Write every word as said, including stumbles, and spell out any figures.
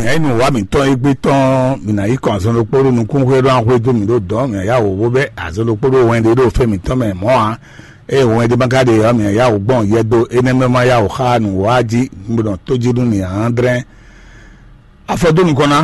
Ényí nǔ wa mǐtɔn égbé tɔn, mǐ ná yi kɔn azɔn ɖokpó ɖó nukúnxwé ɖó axwé dó mǐ ɖó dɔ̌n, mǐ ná yá wǒ bó bɛ́ azɔn ɖokpó ɖó wɛn ɖé ɖo fé mǐtɔn mɛ mɔ̌ ǎ. Ée wɛn ɖé ma ka ɖe ɔ́, mǐ ná yá wǒ gbɔn yɛ dó énɛ́ mɛ ma yá wǒ xá nǔ wa jí, bó nɔ tó jí nú mǐ ǎ drɛ́n. Afɔ dó nukɔn ná.